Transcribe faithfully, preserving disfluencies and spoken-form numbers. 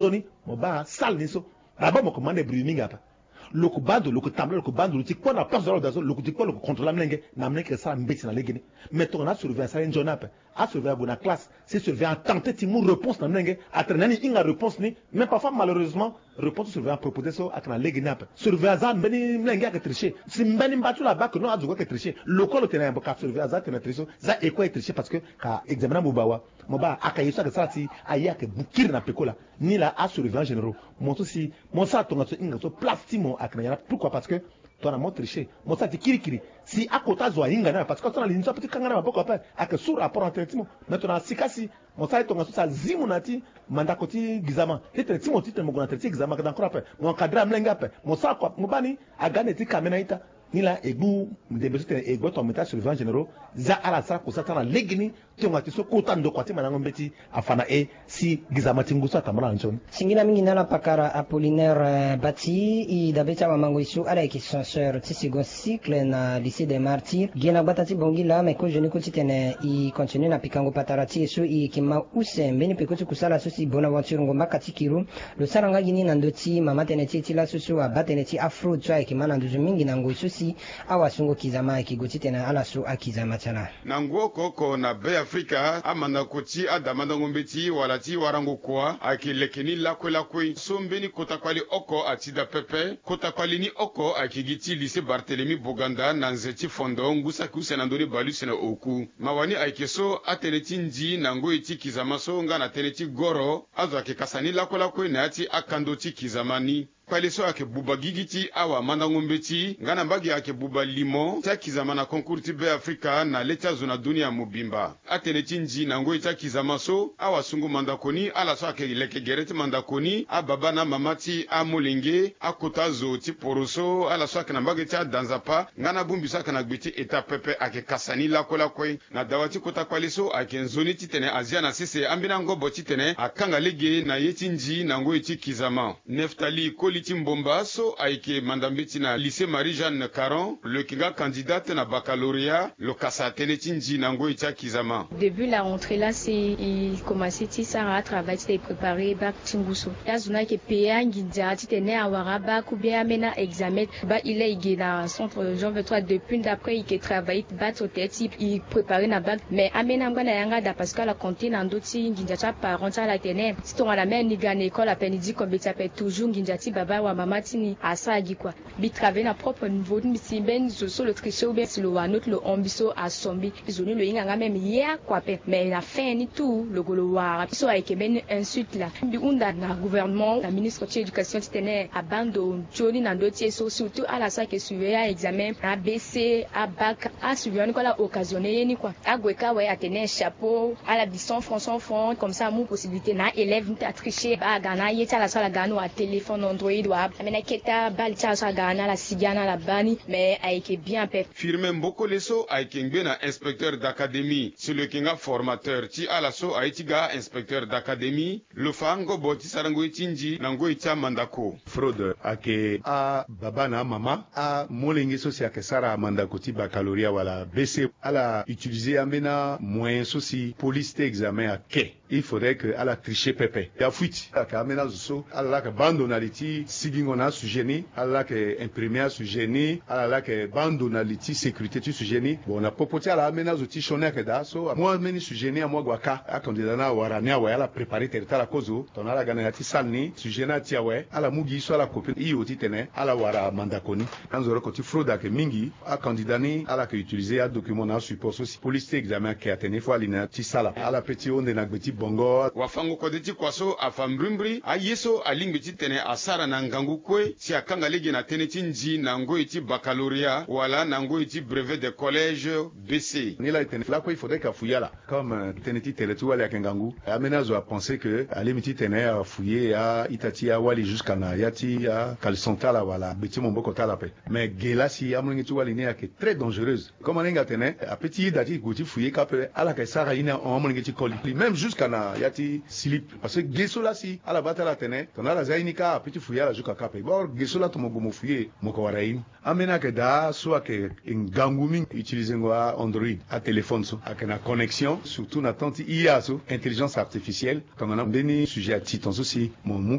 Sioni mo baa salle ni so. D'abord mo ko ma na débrouiller mingi ape. Lo ko baa ndo, lo ko tambula, lo ko baa ndo, lo ti kpo na place de l'ordre so, lo ko ti kpo, lo ko contrôler amolenge. Na amolenge ayeke sara mbeti na legeni. Mais tongana asurveillant asara ye nzoni ape, asurveillant ague na classe, si surveillant atente ti mu réponse na amolenge, atene na ni hinga réponse ni. Mais parfois malheureusement réponse ti surveillant apropose so ayeke na legeni ape. Surveillant aza mbeni molenge ayeke tricher. Si mbeni mba ti lo abaa ke non, azo kue ayeke tricher. Lo kue lo tene na yambo ka surveillant aza atene na tricher so, za e kue aye tricher parce que ka examen ni abuba wa. Mo baa aka ye so ayeke sara si aye ayeke bu kiri na peko laa. Ni laa asurveillant généraux, mo so si mo sara tongaso hinga so, place ti mo ayeke na yanga. Pourquoi? Parce que tongana mo tricher, mo sara ti kirikiri, si akota zo ahinga ni ape, parce que ato na li ni so ape ti kanga na maboko ape, ayeke sous rapport na tere ti mo. Mais tongana sika si mo sara ye tongaso si azi mo na ya ti mandako ti gizama, ti tene ti mo, ti tene mo gue na tere ti gizama ayeke na kora ape, mo encadrer amolenge ape, mo sara kua, mo baa ni aga ande ti ka ambeni a-ita. Ni laa e gbu ndembe so ti tene e gbu ato na mo ti asurveillant généraux, za ala sara kua so atara na legeni. Tongana ti so kota ndokua ti mandango mbeti afa na e si gizama ti ngu so atambula na nzoni. Singila mingi na ala pakara Apollinaire, eh, Bati, e dabe ti awamangoi so ala yeke censeur ti second cycle na lycée des Martyrs. Gi na gbata ti Bangui laa, me kozoni kue ti tene e continue na pikango patara ti e so e yeke ma use mbeni peko ti kusala so si Bonaventure Ngombaka ti Kiru lo sara nga gi ni na ndö ti mama tënë ti e ti laso so abaa tënë ti afraude so ayeke ma na nduzu mingi na ngoi so si awasungo kizama ayeke gue ti tene ala so akizama ti ala. Na ngu oko oko na Be Afrika, amandako ti adamandango mbeti wala ti warango kua ayeke leke ni lakue lakue. So mbeni kota kpali oko ati daa pepe. Kota kpali ni oko ayeke gi ti lycée Barthélemy Boganda na nze ti Fondo, ngu saki use na ndö ni bale use na oku. Mawa ni ayeke so atënë ti ndi na ngoi ti kizama so nga na tënë ti goro, azo ayeke kasa ni lakue lakue na ya ti akando ti kizama ni. Kpale so ayeke buba gigi ti awamandango mbeti nga na mbage ayeke buba limo ti akizama na concours ti Be Afrika na le ti azo na dunia mobimba. Atënë ti ndi na ngoi ti akizama so, awasungo mandako ni, ala so ayeke leke gere ti mandako ni, ababa na amama ti amolenge, akota zo ti poroso, ala so ayeke na mbage ti ada nzapa nga na abongbi so ayeke na gbe ti eta pepe ayeke kasa ni lakue lakue. Na dawa ti kota kpale so ayeke nzoni titene azia na sese ambeni angobo titene akanga lege na ye ti ndi na ngoi ti kizama. Neftali Koli ti Mbomba so ayeke manda mbeti na lycée Marie-Jeanne Caron, lo yeke nga candidate na baccalauréat, lo kasa tënë ti ndi na ngoi ti akizama. Depuis la rentrée là, c'est, il commençait ti sara travail ti préparer bac ti ngu so. Azo ni ayeke payé anginza titene awara bac ou bien ambeni examen. Bac il est, il est na centre Jean vingt-trois depuis, d'après il ke travailler bac so teti, il préparer na bac. Mais ambeni angba na yanga daa parce que ala compter na ndö ti nginza ti aparent ti ala tene si tongana même ni ga na école ape, ni diko mbeti ape, toujours nginza ti baba wa mama ti ni asara gi kua. Mbi travailler na propre niveau ti mbi, si mbeni zo so lo tricher ou bien si lo wara note lo hon mbi so aso mbi. Zo ni lo hinga nga même ye akua ape. Mais na fin ni tout lo gue lo wara so ayeke mbeni insulte laa. Mbi hunda na gouvernement, na ministre ti éducation titene abaa ndo nzoni na ndö ti ye so, surtout ala so ayeke surveiller a-examen na A B C, abac. Asurveillant ni kue ala occasionner ye ni kua. Ague kâ awe atene chapeau, ala bi cent francs, cent francs, comme ça amu possibilité na élève ni ti atricher. Baa aga na aye ti ala so ala ga ni, wa téléphone Android, wa ambeni akete abale ti ala so aga ni, ala sigi ni, ala baa ni. Mais ayeke bien ape. Firmin Mbokole so ayeke ngbe na inspecteur d'académie, si lo yeke nga formateur ti ala so aye ti ga inspecteur d'académie, lo fa angobo ti sarango ye ti ndi na ngoi ti amandako. Fraude ayeke ababa na amama, amolenge so si ayeke sara mandako ti baccalauréat wala B C, ala utiliser ambeni amoyen so si police ti examen ake. Il faudrait que ala tricher pepe. Ya fuite. Ala yeke ambeni azo so ala laa ayeke baa ndo na li ti sigingo na asujet ni, ala laa ayeke imprimer asujet ni, ala laa ayeke baa ndo na li ti sécurité ti sujet ni. Bon, na popo ti ala, ambeni azo ti sioni ayeke daa so amu ambeni sujet ni amu ague aka. Acandidat ni awara ni awe, ala préparer tere ti ala kozo. Tongana ala ga na ya ti salle ni, sujet ni ati awe, ala mu gi so ala copier hio titene ala wara mandako ni. Anzoroko ti fraude ayeke mingi. Acandidat ni ala yeke utiliser adocument na asupport so si police ti examen ayeke atene il faut ali na ya ti sala. Ala pe ti hunde na gbe ti bongo. Wafango kode ti kua so afa mbrimbri aye so alingbi titene asara na ngangu kue si akanga lege na tënë ti ndi na ngoi ti baccalauréat wala na ngoi ti brevet de collège, B C. Ni laa e tene lakue il faudrait que afouiller ala. Comme, euh, tënë ti tere ti wali ayeke ngangu, ambeni azo apenser que alingbi titene afouiller a-ita ti awali jusqu'à na ya ti acaleçon ti ala wala gbe ti maboko ti ala ape. Mais ge laa si amolenge ti wali ni ayeke très dangereuse. Comme aninga atene ape ti yeda ti gue ti fouiller kâ ape, ala yeke sara ye ni ahon amolenge ti koli, même jusqu'à na ya ti slip. Parce que ge so laa si ala baa ti ala atene tongana ala zia ye ni kâ ape ti fouiller ala zo kaka ape. Bord ge so lato mo gue mo fouiller, mo ko wara ye ni. Ambeni ayeke daa so ayeke ngangu mingi utiliser ngo a Android, a téléphone so ayeke na connexion surtout na temps ti I A so, intelligence artificielle. Tongana mbeni sujet ati ton so si mo mu